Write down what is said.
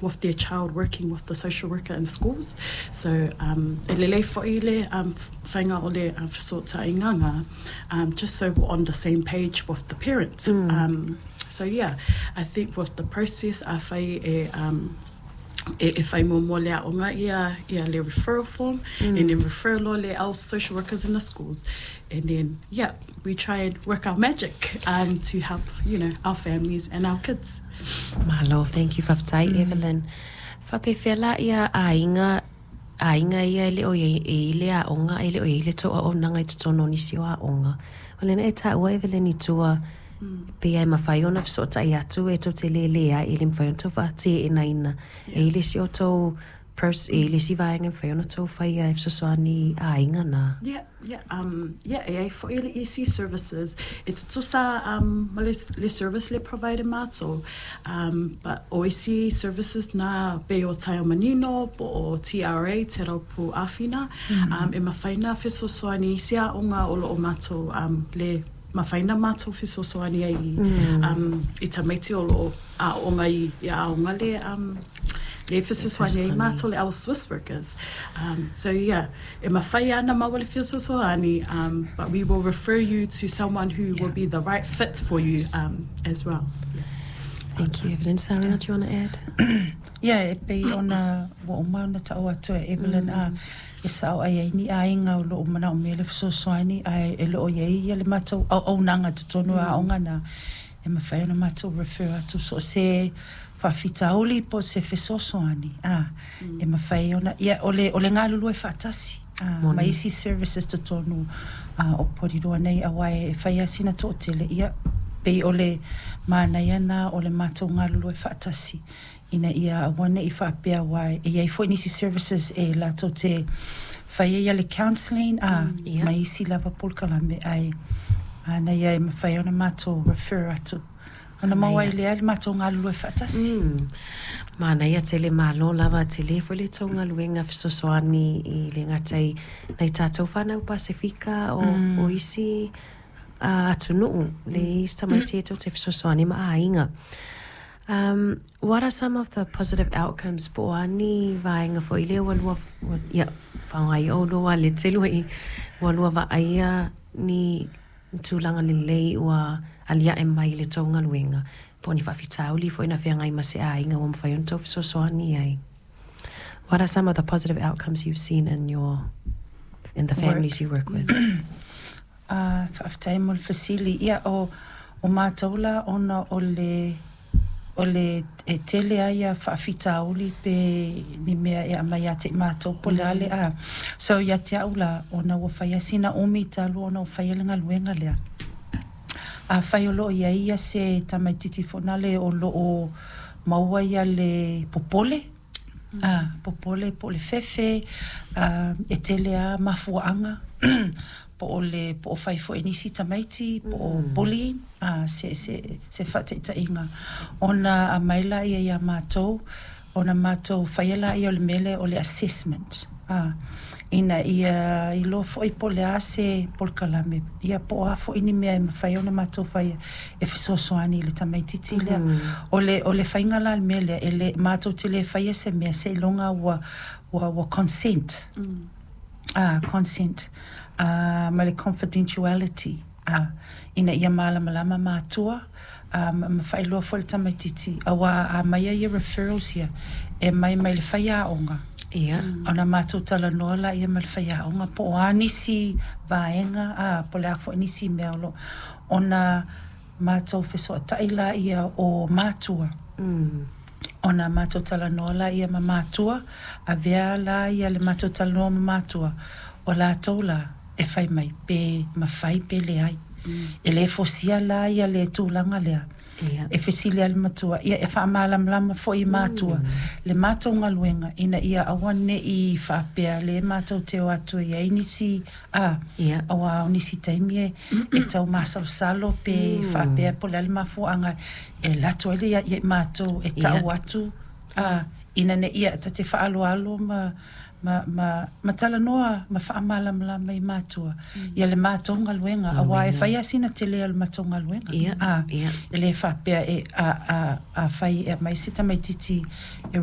with their child working with the social worker in schools. So um, e lelei fo'i le um, faiga o le um, fesootaiga ngā, just so we're on the same page with the parents. So yeah, I think with the process afai e um, e, e whai muamua le aonga ia, ia le referral form and then refer loa le our social workers in the schools and then yeah, we try and work our magic um, to help, you know, our families and our kids. Malo, thank you, faafetai Evelyn. Faapefea la ia aiga, aiga ia e le o i ai i le aoga, e le o i ai le tou auaunaga i totonu o nisi o aoga. O lena e taua Evelyn i tua, pei lava e mafai ona fesootai atu e tou te lē ai, e le mafai ona tou faateenaina. E i ai le isi o tou e i ai le isi vaega e mafai ona tou faia e fesoasoani i aiga na. Yeah, yeah, yeah, e ai fo'i le EC services, e tutusa um, ma le, le service le provide e mātou, um, but o isi services na pei o Taiao Manino po o TRA, Te Raupu Āwhina, um, e mafai na fesoasoani i isi aoga o lo o mātou um, le mafai na mātou fesoasoani ai i, um, i tamaiti o lo o aoga i, i aoga le, um, le fesoasoani ai mātou le our Swiss workers. So yeah, e mafai ana māua le fesoasoani, but we will refer you to someone who will be the right fit for you as well. Yeah. Thank you, Evelyn. Sarina, do you want to add? Yeah, e pei ona ua uma ona ta'u atu e Evelyn a e sa'o ai ai ni aiga o lo'o manaomia le fesoasoani ae e le o i ai ia le matou auaunaga i totonu o aoga na e mafai ona matou refer atu so o se faafitauli po o se fesoasoani a e mafai ona ia o le o le galulue faatasi a ma isi services totonu a o Porirua nei aua e fai lava sina toatele ia pei o le manaia na o le matou galulue faatasi ina ia aua ne i faapea aua e i ai foi nisi services e latou te fai ai le counselling a ma isi lava polokalame ae manaia e mafai ona matou refer atu ona maua ai lea le matou galulue faatasi. Manaia tele, malo lava, tele foi le tou galuega fesoasoani i le gata i nai tatou fanau Pasefika o, o isi atunuu le isi tamaiti e tou te fesoasoani ma aiga. What are some of the positive outcomes po o a ni vaega foi lea ua lua, ua, ia, faaaoga ia oulua walete lua i, ua lua vaaia ni tulaga lelei ua aliae mai i le tou galuega, po o ni faafitauli foi na feagai ma se aiga ua mafai ona tou fesoasoani ai. What are some of the positive outcomes you've seen in your, in the families you work with? A, faafetai mo le fesili. Ia, o, o matou la ona o le, o le, e tele a ia faafitauli pe ni mea e aumai ia te i matou po o le a le a. So ia te au la, ona ua fai lava sina umi talu ona ou faia le galuega lea. Afai o lo o i ai ia se tamaitiiti foi nale o lo o maua ia le popole, a, popole po o le fefe, a, e tele lava mafuaaga po o le po o fai foi e nisi tamaiti po o bullying, a, se se se faataitaiga ona aumai laia ia matou ona matou faia laia o le mea lea o le assessment, a, ina ia iloa foi po o le a se polokalame ia po o a foi ni mea e mafai ona matou faia e fesoasoani i le tamaitiiti lea. O le o le faiga la o le mea lea e le matou te le faia se mea seiloga ua ua ua consent, a, consent, a, ma le confidentiality, a, ina ia malamalama matua, a, ma ma faailoa foi i le tamaitiiti, aua a aumai ia referrals ia, e aumai mai le faiaoga. Ia. Ona matou talanoa laia ma le faiaoga po o a nisi vaega, a, po o le a foi nisi mea o lo o, ona matou fesootai laia o matua. Ona matou talanoa laia ma matua, avea la ia le matou talanoa ma matua, o latou la e fai mai pe mafai pe leai. E le fosia la ia le tulaga lea. E fesili lava le matua, ia e faamalamalama foi i matua le matou galuega ina ia aua ne i faapea le matou te o atu e i ai nisi a, aua o nisi taimi e e tau masalosalo pe faapea po o le a le mafuaaga e alu atu ai le ia i matou e ta'u atu a, ina ne i ta te faaaloalo ma ma, ma, ma talanoa ma faamalamalama i matua ia le matou galuega, aua e fai lava sina tele o le matou galuega. Ia, a, ia. E le faapea e, a, a, afai e aumai se tamaitiiti e.